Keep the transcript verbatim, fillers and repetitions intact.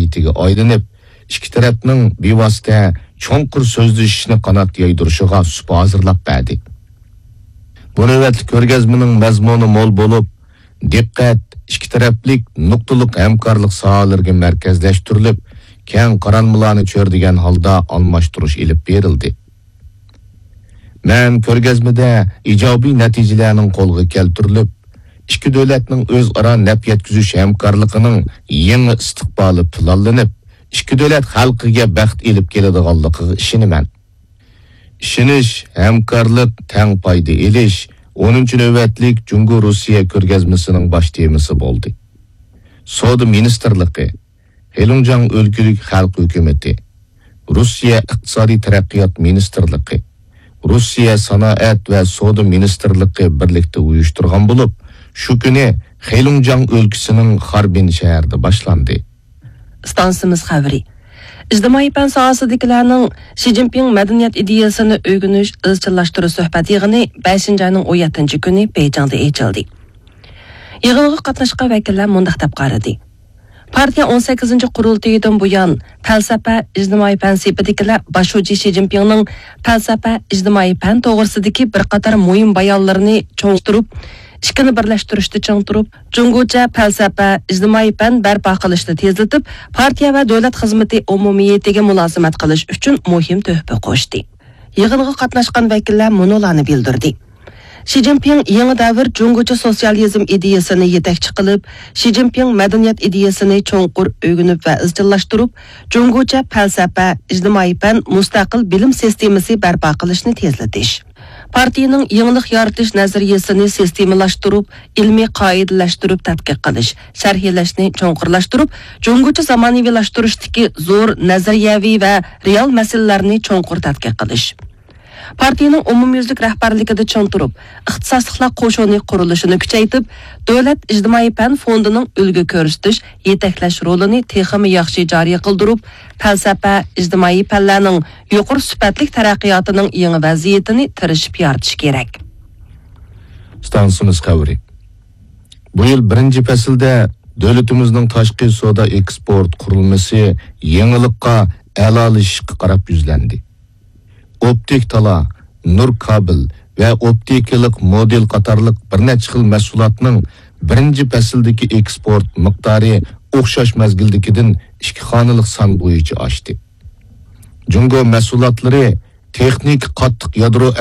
مەدەنىيىتىگە ئايلىنىپ، ئىككى تەرەپنىڭ بىۋاسىتە چوڭقۇر سۆزلىشىشنى قانات يايدۇرۇشىغا سۇپا ھازىرلاپ بەردى. بۇ نۆۋەتلىك كۆرگەزمىنىڭ مەزمۇنى مول بولۇپ، دىققەت ئىككى تەرەپلىك نۇقتىلىق ھەمكارلىق ساھەلىرىگە مەركەزلەشتۈرۈلۈپ، كەڭ قارالمىلارنى چۆرىدىگەن ھالدا ئالماشتۇرۇش ئېلىپ بېرىلدى. مەن كۆرگەزمىدە ئىجابىي نەتىجىلەرنىڭ قولغا كەلتۈرۈلۈپ، ئىككى دۆلەتنىڭ ئۆزئارا نەپ يەتكۈزۈش ھەمكارلىقىنىڭ يېڭى ئىستىقبالى پىلانلىنىپ، ئىككى دۆلەت خەلقىگە بەخت ئېلىپ كېلىدىغانلىقىغا ئىشىنىمەن. ئىشىنىش، ھەمكارلىق، تەڭ پايدا ئېلىش، ئونىنچى نۆۋەتلىك جۇڭگو-روسىيە كۆرگەزمىسىنىڭ باش تېمىسى بولدى. سودا مىنىستىرلىقى، خېلۇڭجياڭ ئۆلكىلىك خەلق ھۆكۈمىتى، روسىيە ئىقتىسادىي تەرەققىيات مىنىستىرلىقى، روسىيە سانائەت ۋە سودا مىنىستىرلىقى بىرلىكتە ئۇيۇشتۇرغان بولۇپ، شۇ كۈنى خېلۇڭجياڭ ئۆلكىسىنىڭ خاربىن شەھىرىدە باشلاندى. ئىستانسىمىز خەۋىرى. ئىجتىمائىي پەن ساھەسىدىكىلەرنىڭ شى جىنپىڭ مەدەنىيەت ئىدىيەسىنى ئۆگىنىش، ئىزچىللاشتۇرۇش سۆھبەت يىغىنى بەشىنچى ئاينىڭ ئون يەتتىنچى كۈنى بېيجىڭدا ئېچىلدى. يىغىنغا قاتناشقان ۋەكىللەر مۇنداق دەپ قارىدى: پارتىيە ئون سەككىزىنچى قۇرۇلتىيىدىن بۇيان، پەلسەپە، ئىجتىمائىي پەن سېپىدىكىلەر باش شۇجى شى جىنپىڭنىڭ پەلسەپە، ئىجتىمائىي پەن توغرىسىدىكى بىر قاتار مۇھىم بايانلىرىنى چوڭقۇرتۇرۇپ، ئىككىنى بىرلەشتۈرۈشتە چىڭ تۇرۇپ، جۇڭگوچە پەلسەپە، ئىجتىمائىي پەن بەرپا قىلىشنى تېزلىتىپ، پارتىيە ۋە دۆلەت خىزمىتى ئومۇمىيىتىگە مۇلازىمەت قىلىش ئۈچۈن مۇھىم تۆھپە قوشتى. يىغىنغا قاتناشقان ۋەكىللەر مۇنۇلارنى بىلدۈردى: شى جىنپىڭ يېڭى دەۋر جۇڭگوچە سوتسىيالىزم ئىدىيەسىنى يېتەكچى قىلىپ، شى جىنپىڭ مەدەنىيەت ئىدىيەسىنى چوڭقۇر ئۆگىنىپ ۋە ئىزچىللاشتۇرۇپ، جۇڭگوچە پەلسەپە، ئىجتىمائىي پەن، مۇستەقىل بىلىم سىستېمىسى بەرپا قىلىشنى تېزلىتىش، پارتىيىنىڭ يېڭىلىق يارىتىش نەزەرىيەسىنى سىستېمىلاشتۇرۇپ، ئىلمىي قائىدىلەشتۈرۈپ تەتقىق قىلىش، شەرھلەشنى چوڭقۇرلاشتۇرۇپ، جۇڭگوچە زامانىۋىلاشتۇرۇشتىكى زور نەزەرىيەۋى ۋە رېئال مەسىلىلەرنى چوڭقۇر تەتقىق قىلىش. پارتىيىنىڭ ئومۇميۈزلۈك رەھبەرلىكىدە چىڭ تۇرۇپ، ئىختىساسلىقلار قوشۇنى قۇرۇلۇشىنى كۈچەيتىپ، دۆلەت ئىجتىمائىي پەن فوندىنىڭ ئۈلگە كۆرسىتىش، يېتەكلەش رولىنى تېخىمۇ ياخشى جارى قىلدۇرۇپ، پەلسەپە، ئىجتىمائىي پەنلەرنىڭ يۇقىرى سۈپەتلىك تەرەققىياتىنىڭ يېڭى ۋەزىيىتىنى تىرىشىپ يارىتىش كېرەك. ئىستانسىمىز خەۋىرى. بۇ يىل بىرىنچى پەسىلدە دۆلىتىمىزنىڭ تاشقى سودا ئېكسپورت قۇرۇلمىسى يېڭىلىققا، ئەلالىشىشقا قاراپ يۈزلەندى. ئوپتىك تالا، نۇر كابېل ۋە ئوپتىكىلىق مودېل قاتارلىق بىر نەچچە خىل مەھسۇلاتنىڭ بىرىنچى پەسىلدىكى ئېكسپورت مىقدارى ئوخشاش مەزگىلدىكىدىن ئىككى خانىلىق سان بويىچە ئاشتى. جۇڭگو مەھسۇلاتلىرى تېخنىكا قاتتىق يادرو